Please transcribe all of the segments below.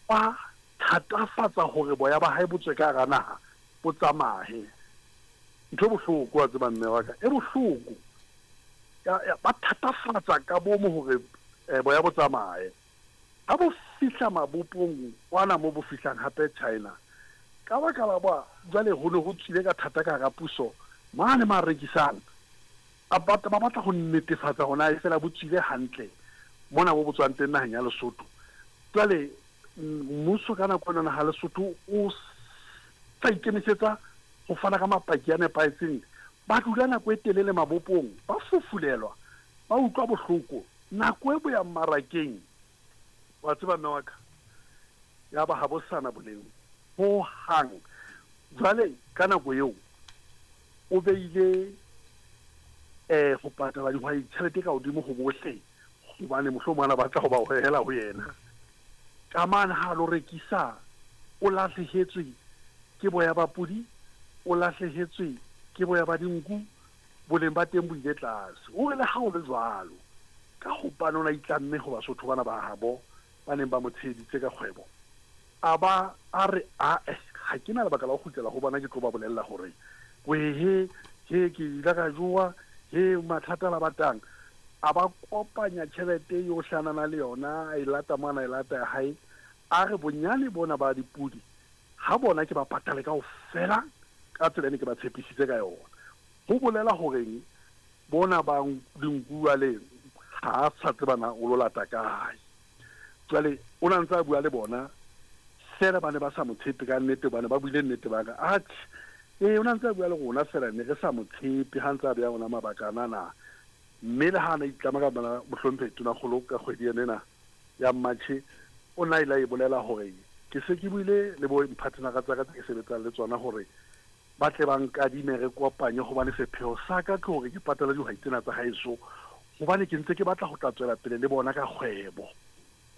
Ba thatafatsa hore boya ba hae bo tswe ka hara naha bo tsamaye. Ntho e bohloko wa tseba mme wa ka, e bohloko. Ya, ya, ba thatafatsa ka bomo hore eh, boya bo tsamaye. Ha bo fihla mabopong kwana mo bo fihlang hape China, ka baka la ba jwale ho ne ho tswile ka thata ka hara puso mane ma rekisang a batla ba batla ho netefatsa hore na e fela bo tswile hantle mona bo bo tswang teng naheng ya Lesotho. Jwale mmuso ka nako ena naha Lesotho o sa ikemisetsa ho fana ka mapaki a nepahetseng. Ba dula nako e telele mabopong, ba fufulelwa, ba utlwa bohloko. Nako e bo ya mmarakeng, wa tseba mme wa ka, ya ba ha bo sana boleng ho hang. Jwale ka nako eo o beile eh ho patala dihwai tjhelete ka hodimo ho bohle hobane mohlomong ana batla ho ba hohela ho yena. Ka mane ha lo rekisa o lahlehetswe ke boya ba podi, o lahlehetswe ke boya ba dinku, boleng ba teng bo ile tlase. O re le ha ho le jwalo, ka hobane o ne a itlamme ho Basotho bana ba habo ba neng ba mo tsheheditse ka kgwebo, a ba a re, Ae, ha ke na lebaka la ho kgutlela ho bona ke tlo ba bolella hore wehe, he, ke ile ka jowa, he, mathata a la batang. A ba kopanya tjhelete yohle a na na le yona, a e lata mo a na e lata ya hae, a re bonyane bona ba dipodi ha bona ke ba patale kaofela ka tsela e ne ke ba tshepisitse ka yona. Ho bolela horeng bona ba dinku jwale ha a sa tseba na o lo lata kae. Jwale o na ntse a bua le bona feela ba ne ba sa mo tshepe ka nnete hobane ba buile nnete ba re atjhe ee o na ntse a bua le rona feela ne re sa mo tshepe ha ntse a beya rona mabaka ana na. Mme le ha a na itlama ka bana mohlomphehi Tonakgolo ka kgwedi ena ena ya Matjhe o na ile a e bolela hore ke se ke buile le bo mphathenara tsa ka tse ke sebetsang le tsona hore ba tle ba nkadime re kopanye hobane sepheo sa ka ke hore ke patale dihwai tsena tsa haeso hobane ke ntse ke batla ho tla tswela pele le bona ka kgwebo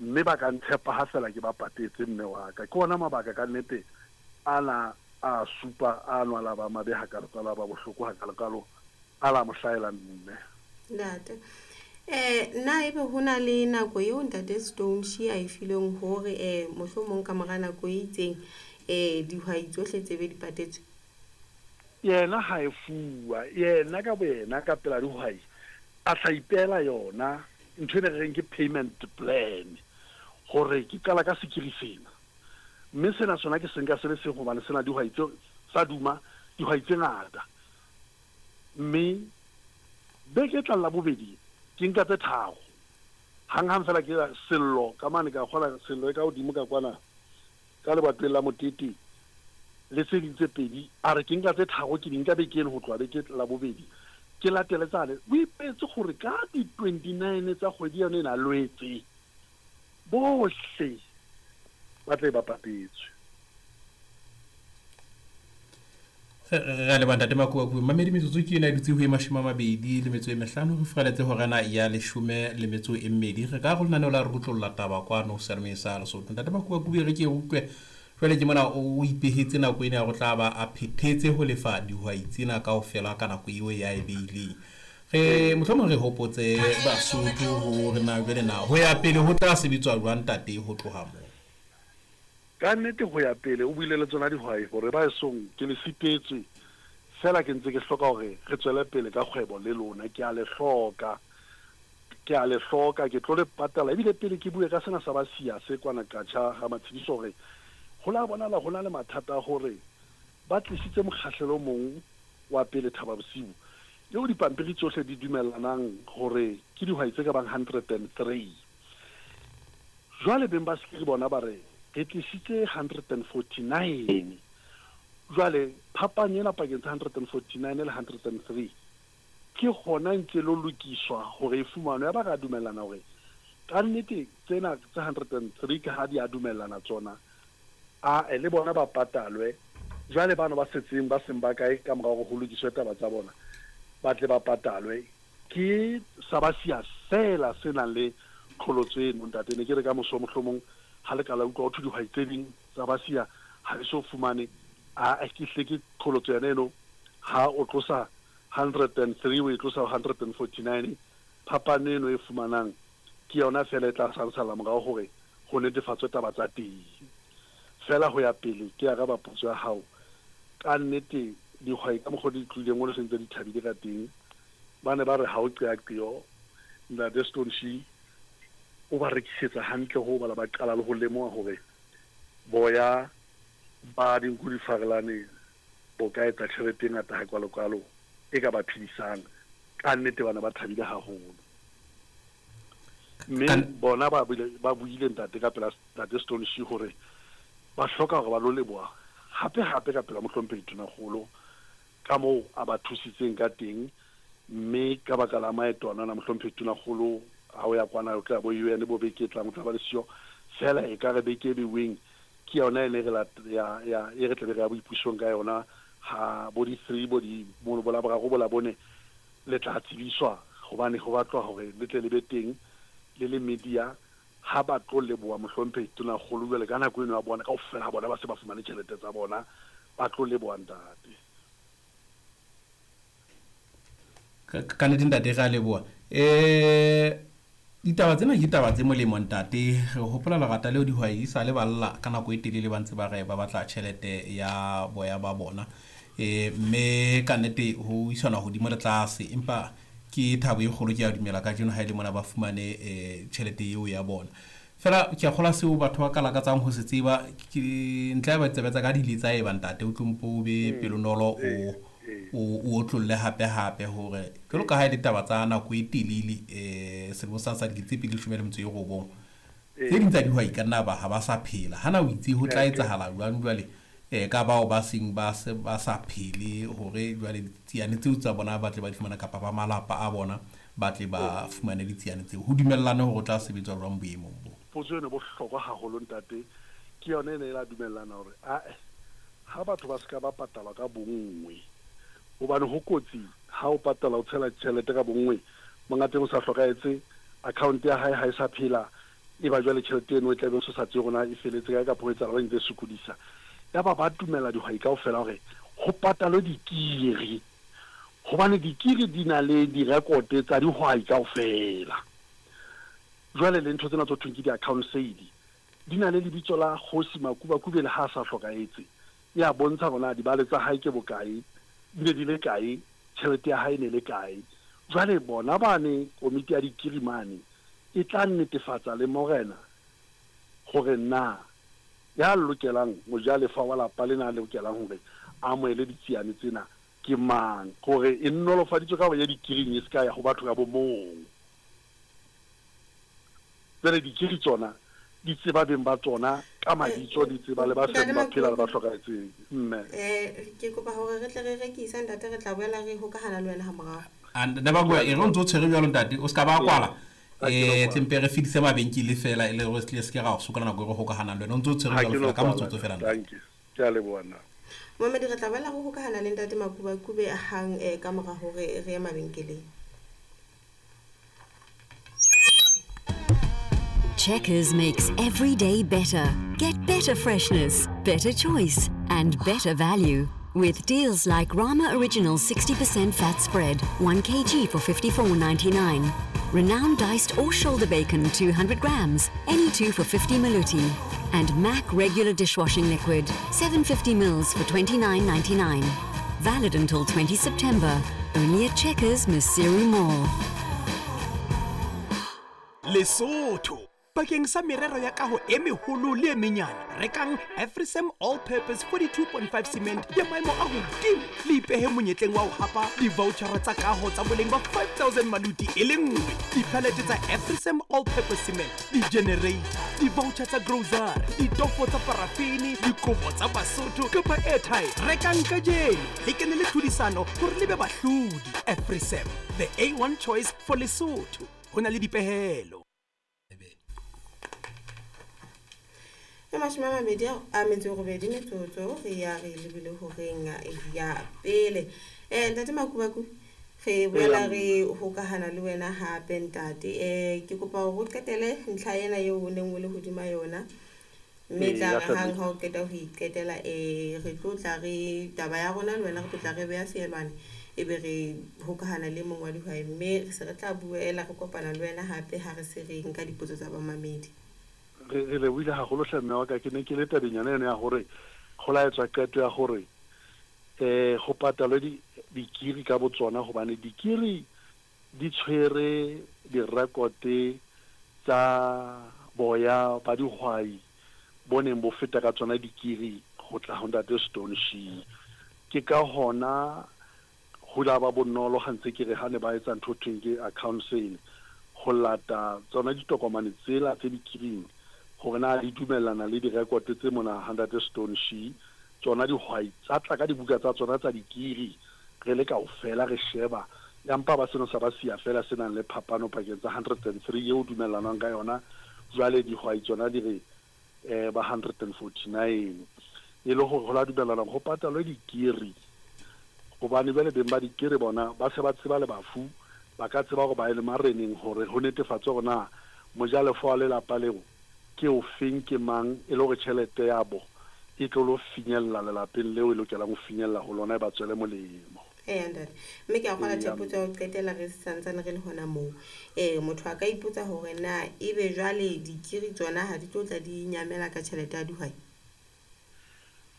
mme ba ka ntshepa ha fela ke ba patetse mme wa ka. Ke ona mabaka ka nnete ana a supa a no a la ba mabe hakalokalo a ba bohloko hakalokalo a la mo hlahela mme. Ntate. Eh, na ebe ho na le nako eo Ntate Stone Shi a e filweng hore eh mohlomong ka mora nako e itseng eh dihwai tsohle tse be di patetswe? Yena ha e fuwa, yena ka boyena ka pela dihwai a tla ipeela yona ntho ene re reng ke payment plan hore ke qala ka sekiri sena. Mme sena sona ke se nka se le seng hobane sena dihwai tse sa duma dihwai tse ngata. Mme beke e tlang Labobedi ke nka tse tharo. Hanghang feela ke sello ka mane ka kgola sello e ka hodimo ka kwana ka lebatoweng la Motete le tse ding tse pedi. A re ke nka tse tharo ke di nka beke eno ho tloha beke Labobedi ke latele tsane. O ipetse gore ka di 29 tsa kgwedi yone ena Lwetse bohle ba tle ba patetswe. Re a leboha Ntate Makuakue. Mamedi metsotso ke ena e dutse ho e 25 re furaletse horena ya 12. Re ka go lenaneo la re rutlolla taba kwano seyalemoyeng sa Lesotho. Ntate Makuakue re ke utlwe jwale ke mona o ipehetse nako ena ya go tla ba a phethetse ho lefa dihwai tsena kaofela ka nako eo ya e beileng. Re mohlomong re hopotse Basotho hore na jwale na ho ya pele ho tla sebetswa jwang ntate ho tloha moo. Ka nnete ho ya pele o buile le tsona dihwai hore ba esong ke le sitetswe feela ke ntse ke hloka hore re tswele pele ka kgwebo le lona ke a le hloka ke a le hloka ke tlo le patala ebile pele ke bue ka sena sa ba siya se kwana Qacha ga Matshediso hore ho la bonala ho na le mathata a hore ba tlisitse mokgahlelo o mong wa pele Thaba Bosiu eo dipampiri tsohle di dumellanang hore ke dihwai tse ka bang 103. Jwale beng ba sekiri bona ba re, Re tlisitse 149. Jwale phapang ena pakeng tsa 149 le 103 ke hona e ntse lo lokiswa hore e fumanwe. Yaba re a dumellana hore kannete tsena tse 103 ka ha di a dumellana tsona, ae le bona ba patalwe. Jwale bano ba setseng ba seng ba kae ka mora hore ho lokiswe taba tsa bona ba tle ba patalwe. Ke Sabasia feela se nang le qholotso eno, ntate. Ne ke re ka moso mohlomong ha le ka la utlwa ho thwe dihwai tse ding tsa Basia ha di so fumane. Ae, ke hlile ke qholotso yona eno. Ha o tlosa 103 o e tlosa ho 149, phapano eno e fumanang ke yona feela e tla salsala morao hore Ho netefatswe taba tsa teng. Feela ho ya pele ke araba potso ya hao, ka nnete dihwai ka mokgwa o di tlohileng o se ntse di thabile ka teng, ba ne ba re ha o qeaqeo, Ntate Stoneshie o ba rekisetsa hantle hoo bala ba qala le ho lemoha hore boya ba dinku di farelane bo ka etsa tjhelete e ngata hakalokalo e ka ba phedisang. Ka nnete ba ne ba thabile haholo. Mme bona ba bile ba buile ntate ka pela ntate Stoneshie hore ba hloka hore ba lo leboha hape hape ka pela mohlomphehi Tonakgolo ka moo a ba thusitseng ka teng, mme ka baka la maeto anana mohlomphehi Tonakgolo ha o ya kwana o tla bo UN bo beke e tlang o tla ba le siyo, feela ekare beke e beuweng ke yona e ne re ya ya e re tlabe re ya boipusong ka yona ha bo di 3 bo di mono bo Laboraro bo Labone le tla tsebiswa hobane ho batlwa hore le tle le be teng le le media ha ba tlo leboha mohlomphehi Tonakgolo jwale ka nako eno ya bona kaofela ha bona ba se ba fumane tjhelete tsa bona ba tlo leboha ntate. Ka nnete ntate re a leboha. Ditaba tsena ke taba tse molemo ntate. Re hopola lerata leo dihwai di sa le balla ka nako e telele ba ntse ba re ba batla tjhelete ya boya ba bona. Mme ka nnete ho isana hodimo le tlase, empa ke thabo e kgolo ke a dumela kajeno ha e le mona ba fumane tjhelete eo ya bona. Fela ke a kgolwa seo batho ba ka lakatsang ho se tseba ke ntle ya ba ditsebe tsa ka di ile tsa eba ntate o tlo mpo o be pelonolo o otlolle hape hape hore jwalo ka ha e le taba tsa nako e telele selemong sa 2019 tse ding tsa dihwai ka nna ba ha ba sa phela. Hana o itse ho tla etsahala jwang jwale ka bao ba seng ba se ba sa phele hore jwale ditsiane tseo tsa bona ba tle ba di fumana kapa ba malapa a bona ba tle ba fumane ditsiane tseo, ho dumellane hore o tla sebetswa jwang boemong bo? Potso eno e bohlokwa haholo ntate, ke yona ene e la dumellana hore ae ha batho ba seka ba patalwa ka bonngwe, hobane ho kotsi ha o patala o tshela tjhelete ka bonngwe, monga teng o sa hlokahetse, account ya hae ha e sa phela, e ba jwale tjhelete eno e tla be o sa tsebe hore na e feletse kae kapa ho etsahala eng, e ntse e sokodisa. Yaba ba dumela dihwai kaofela hore ho patalwe dikiri, hobane dikiri di na le direkote tsa dihwai kaofela. Jwale le ntho tsena tse ho thweng ke di-account sale di na le lebitso la Kgosi Makubakube le ha a sa hlokahetse, e a bontsha hore na dibale tsa hae ke bokae, di ne di le kae, tjhelete ya hae e ne le kae. Jwale bona bane komiti ya dikiri mane e tla netefatsa le morena hore na ya lokelang mojalefa wa lapa lena a lokelang hore a amohele ditsiane tsena ke mang, hore e nolofaditswe ka hore ye dikiring e se ka ya ho batho ka bo mong. Jwale dikiri tsona di tseba beng ba tsona ka mabitso, di tseba le ba seng ba phela le ba hlokahetseng. Mme. Ke kopa hore re tle re rekise ntate, re tla boela re hokahana le wena ha morao. Ntate Makuba, e re o ntse o tshwere jwalo ntate, o ska ba kwala. Tlempe re fedise mabenkele fela e le hore se ke ra o sokola nako e re hokahanang le wena. O ntse o tshwere jwalo fela ka motsotso fela ntate. Thank you. Ke a leboha nna. Momedi, re tla boela re hokahana le ntate Makubakube hang ka mora hore re ye mabenkeleng. Checkers makes every day better. Get better freshness, better choice, and better value. With deals like Rama Original 60% fat spread, 1 kg for 54.99. Renowned diced or shoulder bacon, 200 grams, any two for 50 maluti. And Mac regular dishwashing liquid, 750 mils for 29.99. Valid until 20 September. Only at Checkers, Maseru Mall. Lesotho bakeng sa merero ya kaho e meholo le e menyane, rekang Afrisam All Purpose 42.5 cement ya maemo a hodimo le ipehe monyetleng wa ho hapa di-vouchera tsa kaho tsa boleng ba 5000 maluti e le nngwe, diphalete tsa Afrisam All Purpose cement, di-generator, di-voucher tsa grocery, ditofo tsa parafini, dikobo tsa Basotho kapa airtime. Rekang kajeno le kene le tlhodisano hore le be bahlodi. Afrisam, the A1 choice for Lesotho. Ho na le dipehelo. E 28 metsotso re ya re lebile horeng ya pele. Ntate Makubaku, re boela re hokahana le wena hape ntate. Ke kopa hore o qetele ntlha ena eo o neng o le hodima yona. Mme tla re hang ha o qeta ho iqetela, re tlo tla re taba ya rona le wena re tlo tla re beha feelwane, ebe re hokahana le mong wa dihwai, mme re se re tla boela re kopana le wena hape ha re se re nka dipotso tsa bamamedi. Re lebohile haholo hle mme wa ka. Ke ne ke le tabeng yona eno ya hore go la etswa qeto ya hore ho patalwe dikiri ka botsona, hobane dikiri di tshwere direkote tsa boya ba dihwai bo neng bo feta ka tsona dikiri ho tla ho ntate Stone Shee. Ke ka hona ho la ba bonolo ha ntse ke re ha ne ba etsa ntho thweng ke account sale, ho lata tsona ditokomane tsela tse dikiring hore na di dumellana le direkote tse mona ha ntate Stone Shee. Tsona dihwai tsa tla ka dibuka tsa tsona tsa dikiri, re le kaofela re sheba, ya mpa ba seno sa ba siya feela se nang le phapano pakeng tsa 103 eo dumellanwang ka yona, jwale dihwai tsona di re ba 149, e le hore ho la dumellana ho patalwe dikiri, hobane jwale beng ba dikiri bona ba se ba tseba le bafu, ba ka tseba hore ba ye le mareneng hore ho netefatswe hore na mojalefa wa lelapa leo ke ofeng, ke mang, e le hore tjhelete ya bo e tlo lo finyella lelapeng leo e lokelang ho finyella ho lona, e ba tswele molemo. Eya ntate, mme ke a kgolwa tjhe, potso ya ho qetela re santsane re le hona moo. Motho a ka ipotsa hore na ebe jwale dikiri tsona ha di tlo tla di nyamela ka tjhelete ya dihwai?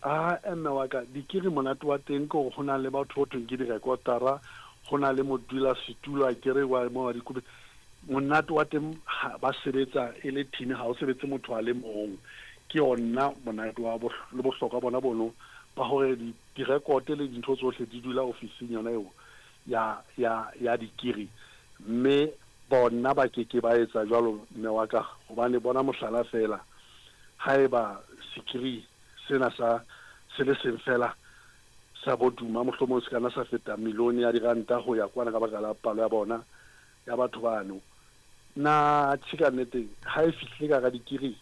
A mme wa ka, dikiri monate wa teng ke hore ho na le batho ho thweng ke direkotara, ho na le modula setulo a kere wa mo wa dikopi. Monate wa teng ba sebetsa e le team, ha o sebetse motho a le mong. Ke yona monate wa le bohlokwa bona bono ba hore direkote le dintho tsohle di dula ofising yona eo ya dikiri, mme bona ba keke ba etsa jwalo mme wa ka, hobane bona mohlala fela, haeba sekiri sena sa se le seng fela sa boduma mohlomong se kana sa feta milione ya diranta ho ya kwana ka baka la palo ya bona ya batho bano. Na tjhe, ka nnete ha e fihlile ka hara dikiri,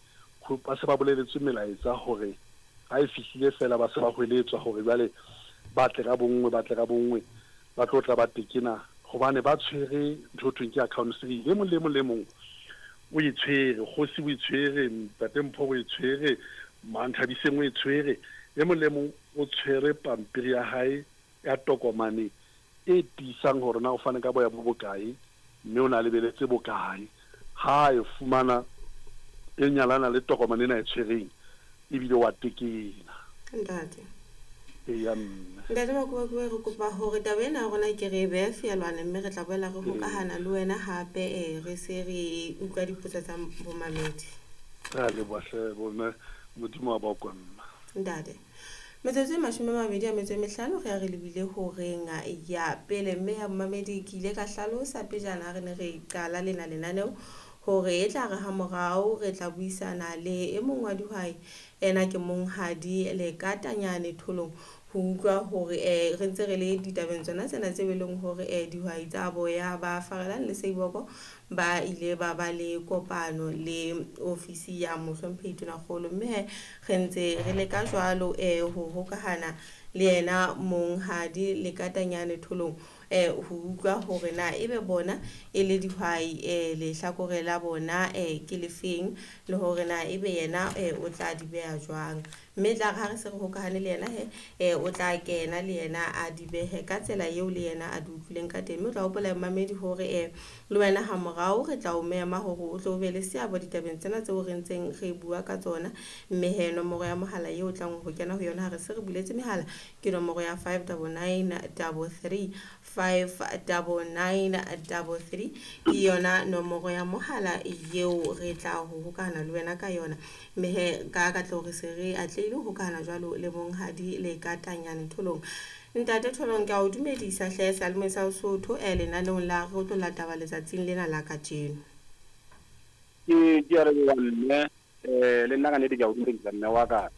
ba se ba boleletswe melaetsa hore ha e fihlile fela ba se ba hweletswa hore jwale ba tle ka bonngwe, ba tle ka bonngwe, ba tlo tla ba tekena, hobane ba tshwere ntho e thweng ke account three. E mong le mong le mong o e tshwere, kgosi o e tshwere, ntate Mpho o e tshwere, Manthabiseng o e tshwere, e mong le mong o tshwere pampiri ya hae ya tokomane e tiisang hore na o fane ka boya bo bokae, mme o na lebeletse bokae. Ha e fumana e nyalana le tokomane ena e tshwereng, ebile wa tekena. Ntate. Eya mme. Ntate Makubakuba, re kopa hore taba ena ya rona ke re e behe feelwane, mme re tla boela re hokahana le wena hape, re se re utlwa dipotso tsa bomamedi. Re a leboha hle bomme, Modimo wa ba o mma. Ntate, metsotso e 25 re ya re lebile horeng ya pele, mme ya momamedi ke ile ka hlalosa pejana ha re ne re qala lena lenaneo hore e tla re ha morao re tla buisana le e mong wa dihwai, ena ke monghadi Lekatanyane Tholong, ho utlwa hore re ntse re le ditabeng tsona tsena tse leng hore dihwai tsa boya ba Farelang le Seiboko ba ile ba ba le kopano le ofisi ya mohlomphehi Tonakgolo, mme re ntse re leka jwalo ho hokahana le yena monghadi Lekatanyane Tholong, ho utlwa hore na ebe bona e le dihwai lehlakore la bona ke lefeng, le hore na ebe yena o tla di beha jwang. Mme tla re ha re se re hokahane le yena he, o tla kena le yena a di behe ka tsela eo le yena a di utlwileng ka teng. Mme o tla hopola mamedi hore le wena ha morao re tla o mema hore o tlo be le seabo ditabeng tsena tseo re ntseng re bua ka tsona. Mme he nomoro ya mohala eo o tlang ho kena ho yona ha re se re buletse mehala ke nomoro ya 59933, 59933 ke yona nomoro ya mohala eo re tla ho hokahana le wena ka yona. Mme he ka katleho re se re atlehile ho hokahana jwalo le monghadi Lekatanyane Tholong. Ntate Tholong, ke a o dumedisa hle seyalemoyeng sa Sesotho lenaneong la re tlo la taba letsatsing lena la kajeno. Ke a leboha mme, le nna ka nnete ke a o dumedisa mme wa ka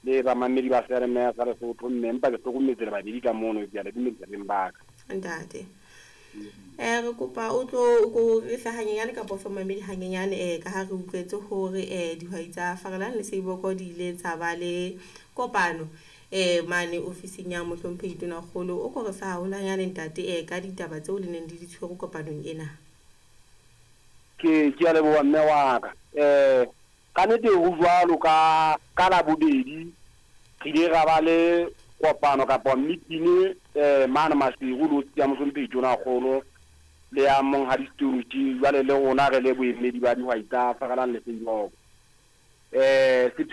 le bamamedi ba seyalemoya sa Lesotho, mme empa ke hlokometse le babedi ka mono, ke a le dumedisa beng ba ka. Ntate, re kopa o tlo ko re fe hanyenyane kapa o fe mamedi hanyenyane, ka ha re utlwetse hore dihwai tsa Farelang le Seiboko di ile tsa ba le kopano mane ofising ya mohlomphehi Tonakgolo. O ko re fe haholwanyane ntate, ka ditaba tseo le neng di di tshwere kopanong ena. Ke a leboha mme wa ka. Ka nnete ho jwalo ka Labobedi re ile ra ba le kopano kapa meeting mane Maseru le ofisi ya mohlomphehi Tonakgolo le ya monghadi Stone, jwale le rona re le boemedi ba dihwai tsa Farelang le Seiboko. Um.